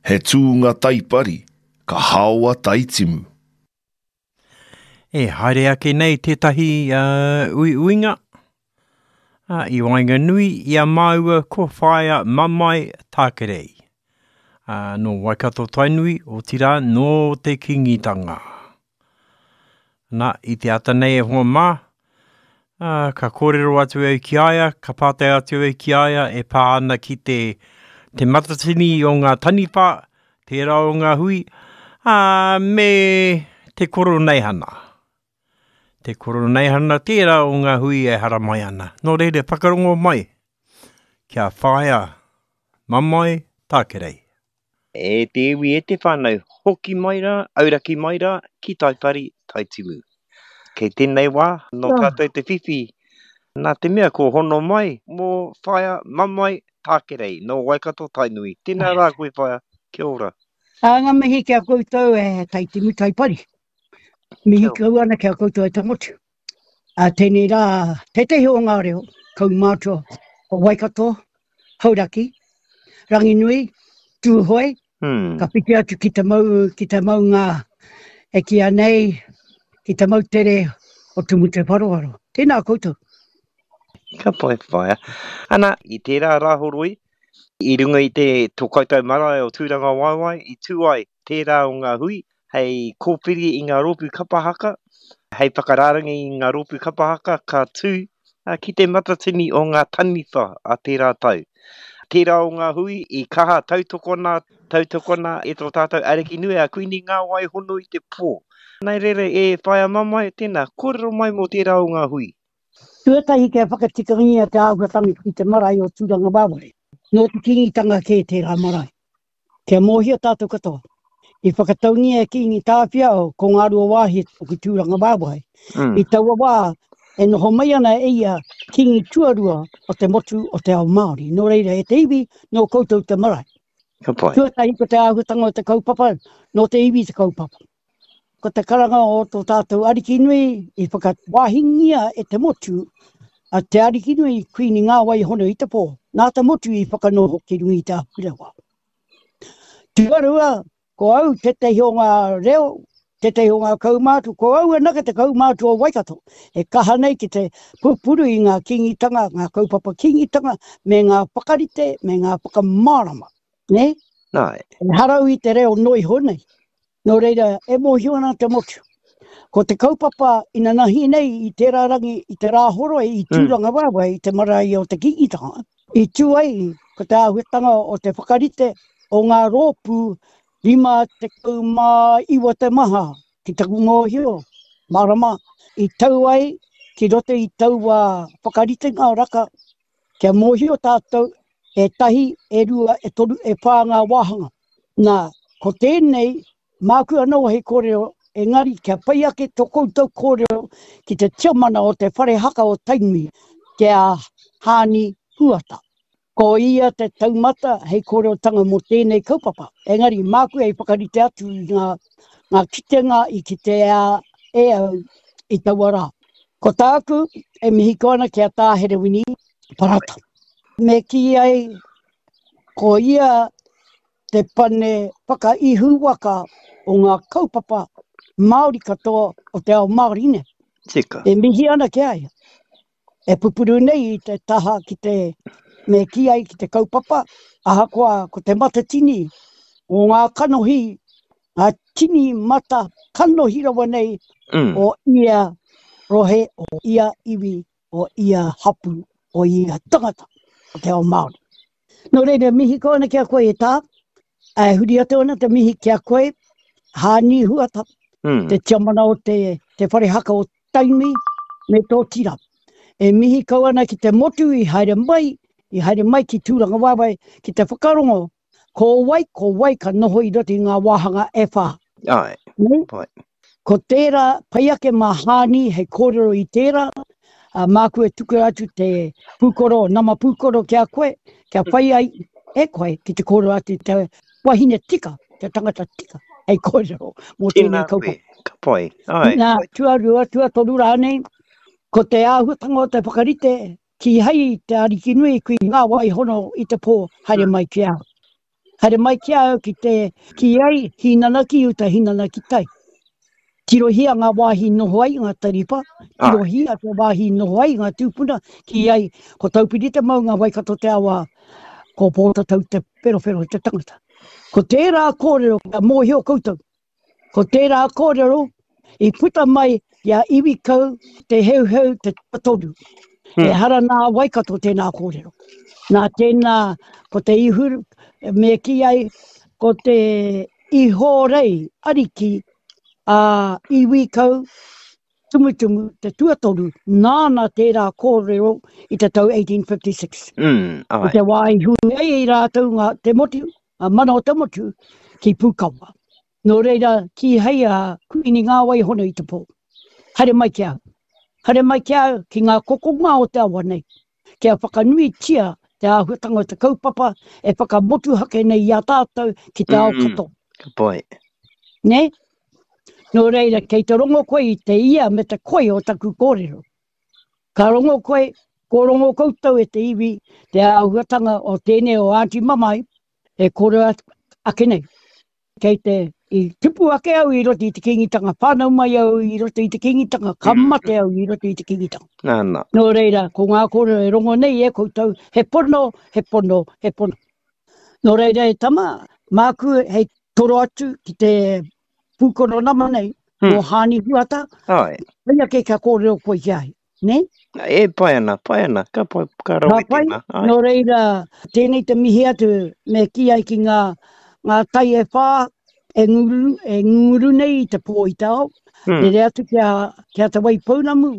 He tūnga taipari, ka haoa taitimu. E haere ake nei tētahi uh, uiuinga uh, i waenganui i a māua ko Whaea Mamae Tākerei. Uh, nō Waikato Tainui, otirā nō te Kīngitanga. Nā, i te ata nei e hoa mā, ā, ka kōrero atu au ki a ia, ka pātai atu au ki a ia e pā ana ki te, te matatini o ngā taniwha, tērā o ngā hui, ā, me te koroneihana. Te koroneihana tērā o ngā hui e haramai ana. Nō reira, whakarongo mai, kia whāia mamae tākerei. E te iwi, e te whānau, hoki mai rā, auraki mai rā, ki Taipari, Taitimu. Kei tēnei wā, nō tātou te whiwhi, nā te mea kua hono mai mō Whaea Mamae Tākerei, nō Waikato Tainui. Tēnā rā koe Whaea, kia ora. Ā, ngā mihi ki a koutou e Taitimu Taipari. Mihi kau ana ki a koutou e te motu. Ā, tēnei rā, tētehi o ngā reo kaumātua o Waikato, Hauraki, Ranginui, Tūhoe, hmm. ka whiti atu ki te mau, ki te maunga e kīa nei, ki te moutere o Tumutewharowaro. Tēnā koutou. Ka pai whaea. Ana, i tērā rāhoroi, i runga i te tō koutou marae o Tūrangawaewae, i tū ai tērā o ngā hui hei kōwhiri i ngā rōpū kapa haka, hei whakarārangi i ngā rōpū kapa haka ka tū ki te matatini o ngā taniwha a tērā tau. Tērā o ngā hui i kaha tautokona, tautokona e tō tātou ariki nui a Kuini Ngāwai Hono i te Pō. Nā reira e Whaea Mamae, tēnā, kōrero mai mō tērā o ngā hui. Tuatahi kia whakatikangia te āhuatanga ki te marae o Tūrangawaewae. Nō te Kīngitanga kē tērā marae. Kia mōhio tātou katoa, i whakataungia e Kīngi Tāwhiao ko Ngāruawāhia ki Tūrangawaewae. Mm. I taua wā, e noho mai ana e ia Kīngi tuarua o te motu o te ao Māori. Nō reira, e te iwi, nō koutou te marae. Ka pai. Tuatahi ko te āhuatanga o te kaupapa, nō te iwi te kaupapa. Ko te karanga o tō tātou Arikinui i whakawāhingia e te motu a Te Arikinui Kuini Ngāwai Hono i te Pō, nā te motu i whakanoho ki runga i te ahurewa. Tuarua, ko au tētehi o ngā reo, tētehi o ngā kaumātua, ko au anake te kaumātua o Waikato, e kaha nei ki te pupuru i ngā kīngitanga, ngā kaupapa kīngitanga, me ngā whakarite, me ngā whakamārama. Nē? Nā. Ehara au i te reo noa iho nei. Nō reira, e mōhio ana te motu. Ko te kaupapa inanahi nei i tērā rangi i te Rāhoroi i mm. Tūrangawaewae i te marae o te Kīngitanga, i tū ai ko te āhuatanga o te whakarite o ngā rōpū 59 te maha ki taku mōhio, mārama, i tau ai ki roto i taua whakaritenga raka kia mōhio tātou e tahi, e rua, e toru, e whā ngā wāhanga. Nā, ko tēnei, māku anō hei kōrero, engari kia pai ake tō koutou kōrero ki te tiamana o te whare haka o Tainui, ki a Haani Huata. Ko ia te taumata hei kōrerotanga mō tēnei kaupapa, engari māku hei whakarite atu i ngā, ngā kitenga i kitea e au i taua rā. Ko tāku e mihi kau ana ki a Tā Herewini Parata. Me kī ai, ko ia te pane whakaihuwaka o ngā kaupapa Māori katoa o te ao Māori nei. Tika. E mihi ana ki a ia. E pupuru nei i te taha ki te, me kī ai ki te kaupapa, ahakoa ko te matatini o ngā kanohi, ngā tini mata kanohi rawa nei mm. o ia rohe, o ia iwi, o ia hapu, o ia tangata o te ao Māori. Nō reira, mihi kau ana ki a koe e tā, e huri atu ana te mihi ki a koe, Hāni Huata, mm. te tiamana o te, te whare haka o Tainui me tō tira. E mihi kau ana ki te motu i haere mai, i haere mai ki Tūrangawaewae ki te whakarongo ko wai, ko wai ka noho i roto i ngā wāhanga e whā. Ai, Nei? pai. Ko tērā, pai ake mā Hāni hei kōrero i tērā, ā, māku e tuku atu te pūkoro, nama pūkoro ki a koe, kia whai ai e koe ki te kōrero atu i te wahine tika, te tangata tika, hei kōrero mō tēnei Tēnā koe, kaupapa. ka pai. Ai. Nā, tuarua, tuatoru rānei, ko te āhuatanga o te whakarite, kīhai te Arikinui kui ngā wai hono i te pō haere mai ki a au. Haere mai ki a au ki te kī ai, hīnana ki uta, hīnana ki tai. Tirohia ngā wāhi noho ai ngā taniwha, tirohia te wāhi noho ai ngā tūpuna, kī ai, ko Taupiri te maunga, Waikato te awa, ko Pōtatau te wherowhero te tangata. Ko tērā kōrero kia mōhio koutou, Ko tērā kōrero i puta mai i a Iwikau Te Heuheu Te Tuatoru. Ehara nā Waikato tēnā kōrero. Nā tēnā ko te ihu, me kī ai, ko te ihorei ariki a Iwikau Tumutumu Te Tuatoru, nāna tērā kōrero i te tau 1856. Mm, I te wā i hui ai i rātou ngā, te motu, ngā mana o te motu, ki Pūkawa. Nō reira, kīhai a Kuini Ngāwaihono i te pō. Haere mai ki au. Haere mai ki au ki ngā kokonga o te awa nei, kia whakanuitia te āhuatanga o te kaupapa e whakamotuhake nei i a tātou ki te ao katoa. Ka pai. Nē? Nō reira, kei te rongo koe i te ia me te koi o taku kōrero. Ka rongo koe, ko rongo koutou e te iwi, te āhuatanga o tēnei o Aunty Mamae e kōrero ake nei. Kei te, i tupu ake au i roto i te Kīngitanga, whānau mai au i roto i te Kīngitanga, ka mate au i roto i te Kīngitanga. Nā, nā. Nō reira, ko ngā kōrero e rongo nei e koutou, he pono, he pono, he pono. Nō reira e tama, māku hei toro atu ki te pūkono nama nei, mō Hāni Huata, Āe. pai ake kia kōrero koe ki a ia, nē? E pai ana, pai ana, ka pai, ka rawe Ka pai, tēnā, āe. Nō reira, tēnei te mihi atu me kī ai ki ngā, ngā tai e whā e nguru, e ngunguru nei i te pō i te ao, rere atu ki a, ki a Te Waipounamu,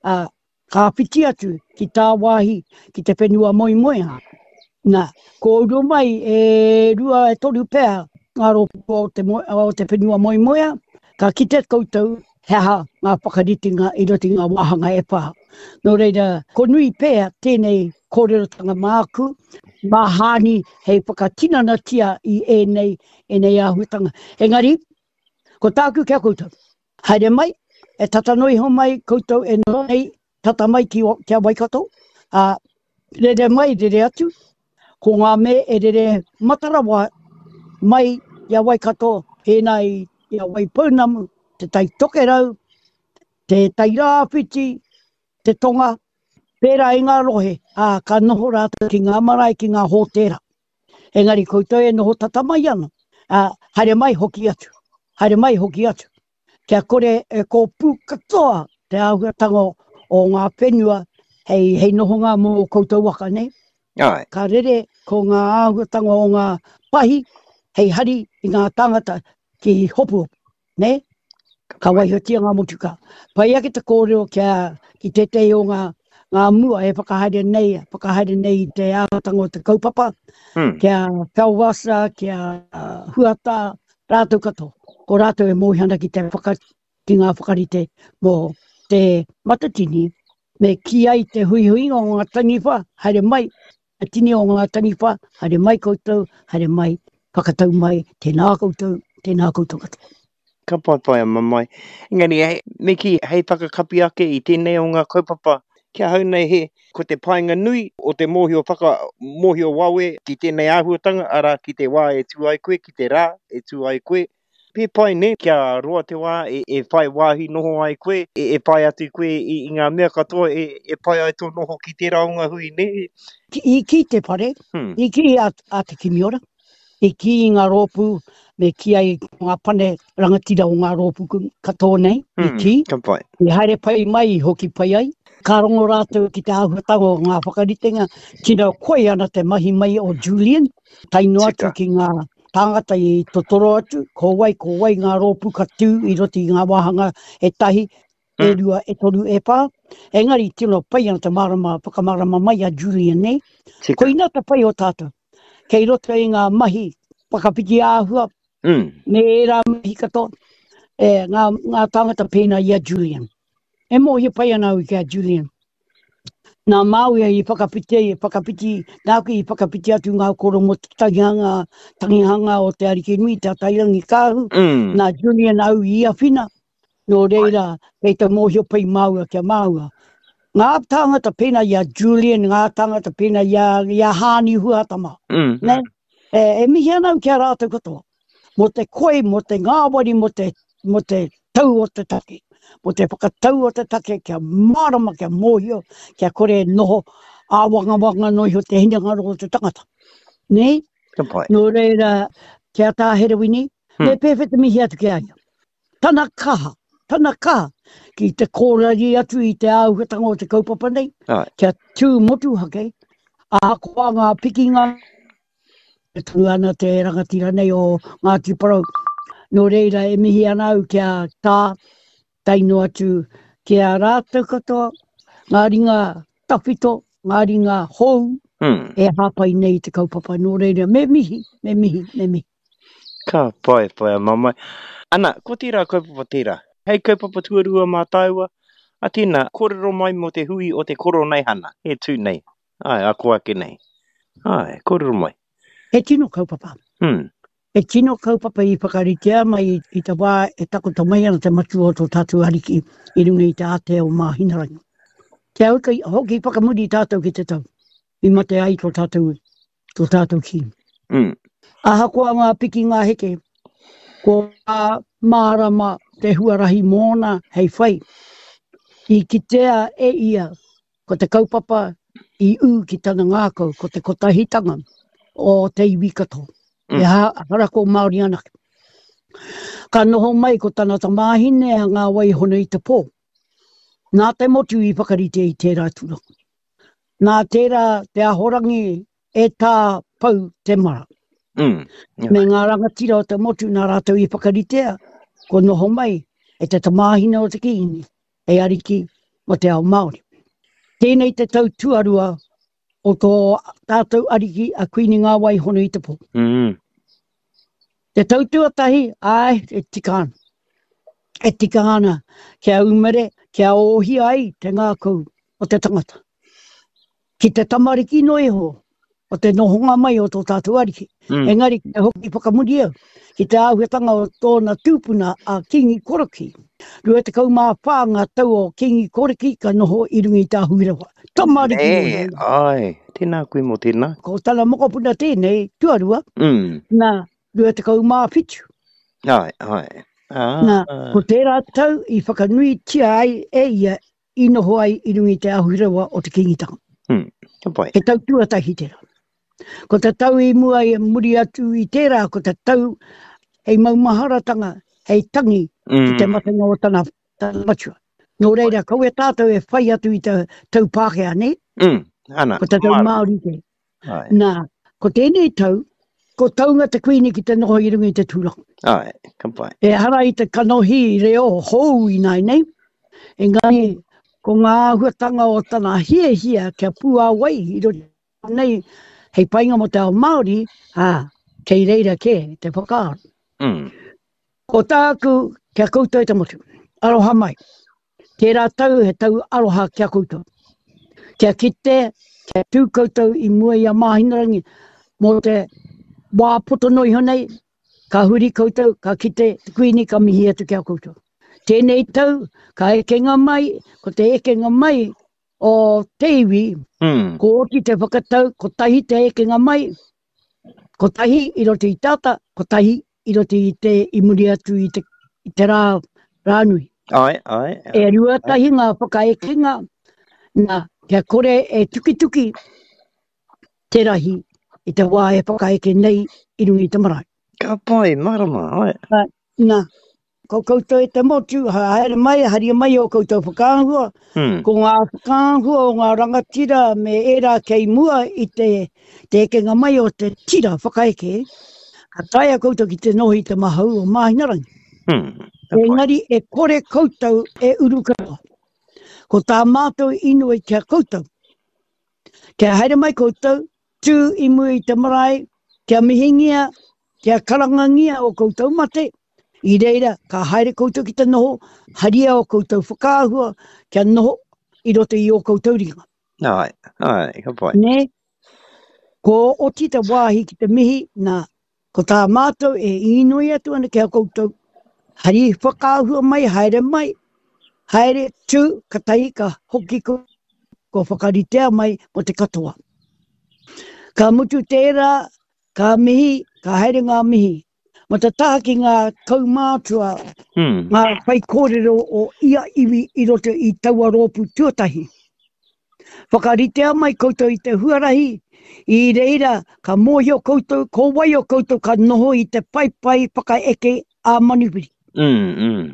ā, Ka whiti atu ki tāwāhi ki te whenua moemoeā. Nā, ko uru mai e rua e toru pea ngā rōpū o te, o te whenua moemoeā, ka kite koutou he aha ngā whakaritenga i roto i ngā wāhanga e whā. Nō reira, ko nui pea tēnei kōrerotanga māku, mā Hāni hei whakatinanatia i ēnei, ēnei āhuatanga. Engari, ko tāku ki a koutou, Haere mai, e tata noa iho mai koutou e noho nei, tata mai ki, ki a Waikato, ā, rere mai, rere atu, ko ngā me e rere matarawa mai i a Waikato, pēnā i, i a Waipounamu, te Tai Tokerau, te Tai Rāwhiti, te Tonga, pērā i ngā rohe, ā, ka noho rātou ki ngā marae, ki ngā hōtēra. Engari koutou e noho tata mai ana, ā, haere mai hoki atu, haere mai hoki atu, kia kore e kōpū katoa te āhuatanga o ngā whenua hei, hei nohonga mō koutou waka, nē? Āe. Ka rere ko ngā āhuatanga o ngā pahi hei hari i ngā tāngata ki Hopuhopu. Nē? Ka waihotia ngā motukā. Pai ake te kōrero kia, ki tētehi o ngā, ngā mua e whakahaere nei, whakahaere nei i te āhuatanga o te kaupapa, mm. kia Felwasa, kia Huata, rātou katoa. Ko rātou e mōhio ana ki te whaka, ki ngā whakarite mō te Matatini, me kī ai te huihuinga o ngā taniwha, haere mai, Te tini o ngā taniwha, haere mai koutou, haere mai, whakatau mai, tēnā koutou, tēnā koutou katoa. Ka pai pai a mamae. Engari, hei, me kī, hei whakakapi ake i tēnei o ngā kaupapa, ki ahau nei he, ko te painga nui o te mōhio whaka, mōhio wawe ki tēnei āhuatanga, arā, ki te wā e tū ai koe, ki te rā e tū ai koe, He pai nē, kia roa te wā e whai wāhi noho ai koe, e whai atu koe i ngā mea katoa e pai ai tō noho ki tērā o ngā hui nē. I kī te whare, i kī a Te Kimiora, i kī i ngā rōpū, me kī ai ngā pane rangatira o ngā rōpū katoa nei, i kī, i haere pai mai, i hoki pai ai. Ka rongo rātou ki te āhuatanga o ngā whakaritenga, tino koi ana te mahi mai o Julian, tae noa atu ki ngā tāngata i totoro atu, ko wai, ko wai ngā rōpū ka tū i roto i ngā wāhanga e tahi, e mm. rua, e toru, e whā. Engari, tino pai ana te mārama, whakamārama mai a Julian nei. Tika. Koina te pai o tātou. Kei roto i ngā mahi whakawhiti āhua, mm. me ērā mahi katoa, e, ngā, ngā tāngata pēnā i a Julian. E mōhio pai ana au ki a Julian. Nā Māui i whakawhiti ai, whakawhiti, nāku i whakawhiti atu ngā koro mō te tangihanga, tangihanga o Te Arikinui, Te Atairangikaahu, mm. nā Julian au i awhina, nō reira, kei te mōhio pai māua ki a māua. Ngā tāngata pēnā i a Julian, ngā tāngata pēnā i a, i a Hāni Huatama. Mm. Ne? E, e mihi ana au ki a rātou katoa, mō te koi, mō te ngāwari, mō te, mō te tau o te take, mō te whakatau o te take kia mārama, kia mōhio, kia kore e noho āwangawanga noa iho te hinengaro o te tangata. Nē? Ka pai. Nō reira, ki a Tā Herewini, me pēwhea te mihi atu ki a ia? Tana kaha, tana kaha ki te kōrari atu i te āhuatanga o te kaupapa nei, Ai. kia tū motuhake, ahakoa ngā pikinga, e tū ana te rangatira nei o Ngāti Porou. Nō reira, e mihi ana au ki a Tā, tae noa atu ki a rātou katoa, ngā ringa tawhito, ngā ringa hou, Mm. e hāpai nei i te kaupapa. Nō reira, me mihi, me mihi, me mihi. Ka pai, pai a mamae. Ana, ko tērā kaupapa tērā. Hei kaupapa tuarua mā tāua, a tēnā, kōrero mai mō te hui o te Koroneihana, e tū nei. Āe, ako ake nei. Āe, kōrero mai. He tino kaupapa. Hmm. He tino kaupapa i whakaritea mai i te wā e takoto mai ana te matua o tō tātou Ariki i runga i te ātea o Māhinarangi. Kia hoki, hoki whakamuri tātou ki te tau i mate ai tō tātou, tō tātou Kīngi. Mm. Ahakoa ngā piki ngā heke, kua mārama te huarahi mōna hei whai. I kitea e ia Ko te kaupapa i ū ki tana ngākau, ko te kotahitanga o te iwi katoa. Mm. Ehara ko Māori anake. Ka noho mai ko tana tamāhine a Ngā Waihona i te pō. Nā te motu i whakarite i tērā tūranga. Nā tērā te ahorangi e Tā Pou Temara. Mm. Yeah. Me ngā rangatira o te motu nā rātou i whakaritea, ko noho mai e te tamāhine o te Kīngi hei ariki mō te ao Māori. Tēnei te tau tuarua o tō tātou ariki a Kuini Ngā Waihono i te pō. Mm. Te tau tuatahi, āe, e tika ana. E tika ana kia umere, kia ōhia ai te ngākau o te tangata. Ki te tamariki noa iho o te nohonga mai o tō tātou ariki. Mm. Engari, ki te hoki whakamuri au, ki te āhuatanga o tōna tūpuna a Kīngi Korokī. 24 ngā tau o Kīngi Korokī ka noho i runga i te ahurewa. Tamariki Nē, noa iho. āe, tēnā koe mō tēnā. Ko tana mokopuna tēnei, tuarua, Mm. nā, 27. Āe, āe. Ah. Nā, ko tērā tau i whakanuitia ai e ia i noho ai i runga i te ahurewa o te Kīngitanga. Mm, ka pai. He tau tuatahi tērā. Ko te tau i mua i muri atu i tērā, ko te tau hei maumaharatanga, hei tangi mm. ki te hmm. matenga o tana, tana matua. Nō reira, kaua tātou e whai atu i te tau Pākehā, nei? Mm, ana. Ko te tau Māori te. Ai. Nā, ko tēnei tau, ko taunga te Kuini ki te noho i runga i te tūranga. Ai, ka pai. Ehara i te kanohi reo hou ināianei, engari ko ngā āhuatanga o tana hiahia kia puāwai i roto nei hei painga mō te ao Māori, ā, kei reira kē te whakaaro. Mm. Ko tāku ki a koutou e te motu, aroha mai. Tērā tau he tau aroha ki a koutou. Kia kite, kia tū koutou i mua i a Māhinarangi mō te wā poto noa iho nei, ka huri koutou, ka kite te Kuini ka mihi atu ki a koutou. Tēnei tau, ka ekenga mai, ko te ekenga mai o te iwi, mm. ko oti te whakatau, kotahi te ekenga mai, Kotahi i roto i te ata, kotahi i roto i te, i muri atu i te, i te rā, rānui. Ai, ai. E ruatahi ngā whakaekenga, nā, kia kore e tukituki te rahi i te wā e whakaeke nei i runga i te marae. Ka pai, marama, ai. Nā, Ko koutou e te motu, haere mai, haria mai ō koutou whakaahua, mm. ko ngā whakaahua o ngā rangatira me ērā kei mua i te, te ekenga mai o te tira whakaeke, ka taea koutou ki te noho i te mahau o Māhinarangi. Mm. Engari e kore koutou e uru katoa. Ko tā mātou inoi ki a koutou. Kia haere mai koutou, tū i mua i te marae, kia mihingia, kia karangangia o koutou mate, i reira ka haere koutou ki te noho, haria o koutou whakaahua kia noho i roto i ō koutou ringa. Āe, āe, ka pai. Nē? Ko oti te wāhi ki te mihi, nā, ko tā mātou e īnoi atu ana ki a koutou, hari whakaahua mai, haere mai, haere, tū, katahi ka hoki koutou, kua whakaritea mai mō te katoa. Ka mutu tērā, Ka mihi, ka haere ngā mihi. Ma te taha ki ngā kaumātua, ngā whaikōrero o ia iwi i roto i taua rōpū tuatahi. Whakaritea mai koutou i te huarahi, i reira ka mōhio koutou ko wai o koutou ka noho i te paepae whakaeke a manuwhiri. Mm, mm.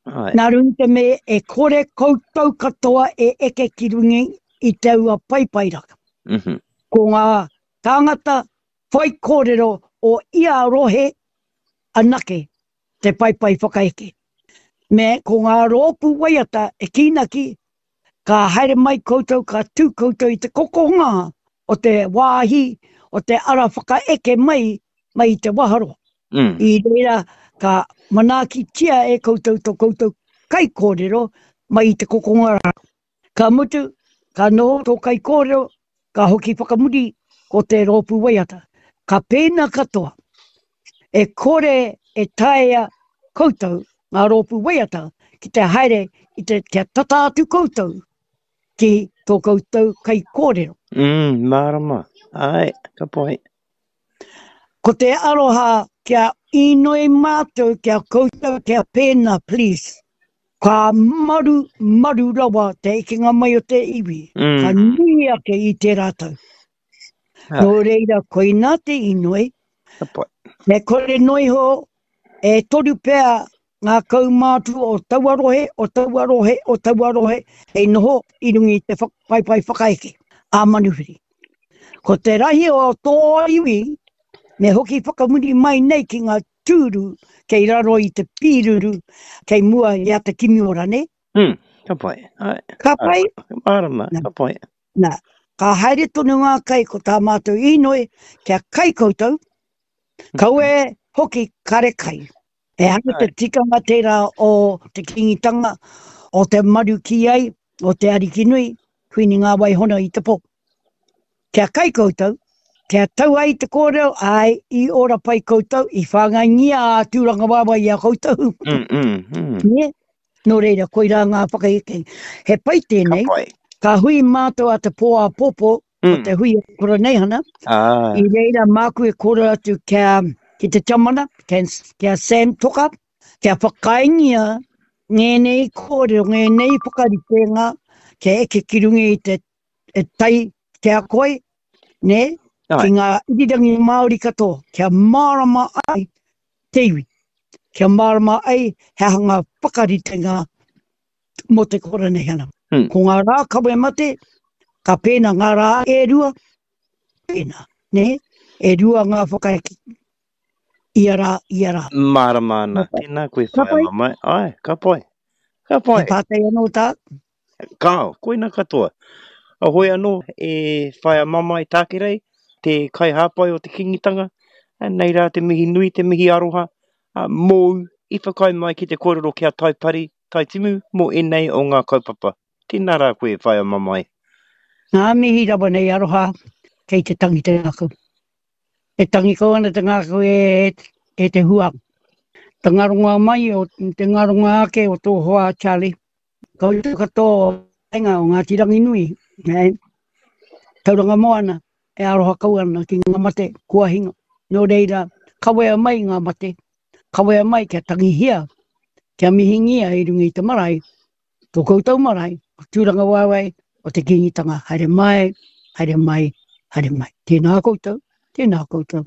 Ai. Nā runga i te mea e kore koutou katoa e eke ki runga i taua paepae raka. Mm -hmm. Ko ngā tāngata whaikōrero o ia rohe anake te paepae whakaeke. Me ko ngā rōpū waiata e kīnaki, ka haere mai koutou, ka tū koutou i te kokonga o te wāhi, o te ara whakaeke mai, mai i te waharoa. Mm. I reira ka manaakitia e koutou to koutou kaikōrero mai i te kokonga rā. Ka mutu, ka noho tō kaikōrero, ka hoki whakamuri ko te rōpū waiata. Ka pēnā katoa. E kore e taea koutou, ngā rōpū waiata, ki te haere i te, kia tata atu koutou ki tō koutou kaikōrero. Mm, mārama. Āe, ka pai. Ko te aroha kia inoi mātou kia koutou kia pēnā, please. Ka maru, maru rawa te ekenga mai o te iwi. Mm. Ka nui ake i tērā tau. Ah. Nō reira, koinā te inoi. Ka pai. Me kore noa iho, e toru pea ngā kaumātua o taua rohe, o taua rohe, o taua rohe, hei noho i runga i te paepae whakaeke a manuwhiri. Ko te rahi o tō iwi, me hoki whakamuri mai nei ki ngā tūru kei raro i te pīruru kei mua i a Te Kimiora, nē? Mm, ka pai. Ai, Ka pai? Mārama, Nā. ka pai. Nā, ka haere tonu ngā kai ko tā mātou inoi kia kai koutou, kaua e hoki kare kai. Ehara te tikanga tērā o te Kīngitanga, o te maru ki ai, o te Arikinui, Kuini Ngā-wai-hono i te pō. Kia kai koutou, kia tau ai te kōrero, āe, i ora pai koutou, i whāngaingia a Tūrangawaewae i a koutou. Mm, mm, mm. Nē? Nō reira, koirā ngā whakaeke. He pai tēnei. Ka pai. Ka hui mātou a te pō āpōpō, mm. o te hui o Koroneihana. Ah. I reira māku e kōrero atu kia, ki te tiamana, kia, kia Sam Toka, kia whakaaengia ngēnei kōrero, ngēnei whakaritenga, kia eke ki runga i te e tai ki a koe, nē, Ai. ki ngā irirangi Māori katoa, kia mārama ai te iwi, kia mārama ai he aha ngā whakaritenga mō te Koroneihana. Hmm. Ko ngā rā kawe mate, ka pēnā ngā rā e rua, pēnā, nē, e rua ngā whakaeke, ia rā, ia rā. Mārama ana. Tēnā koe Ka whaea pai. mamae. Ai, ka pai. Ka pai. He pātai anō tā? Kāo, koina katoa. Hoi anō e whaea mamae Tākerei, te kaihāpai o te Kīngitanga, nei rā te mihi nui, te mihi aroha mōu i whakaae mai ki te kōrero ki a Taipari, Taitimu mō ēnei o ngā kaupapa. Tēnā rā koe whaea mamae. Ngā mihi rawa nei aroha kei te tangi te ngākau. E tangi kau ana te ngākau e, e te hua. Te ngaronga mai o te ngaronga ake o tō hoa Charlie. Koutou katoa o Kainga o Ngāti Ranginui, e, Tauranga Moana, e aroha kau ana ki ngā mate kua hinga. Nō reira, kawea mai ngā mate, kawea mai kia tangihia, kia mihingia i runga i te marae, tō koutou marae, o Tūrangawaewae, o te Kīngitanga, haere mai, haere mai, haere mai. Tēnā koutou, tēnā koutou.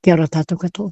Kia ora tātou katoa.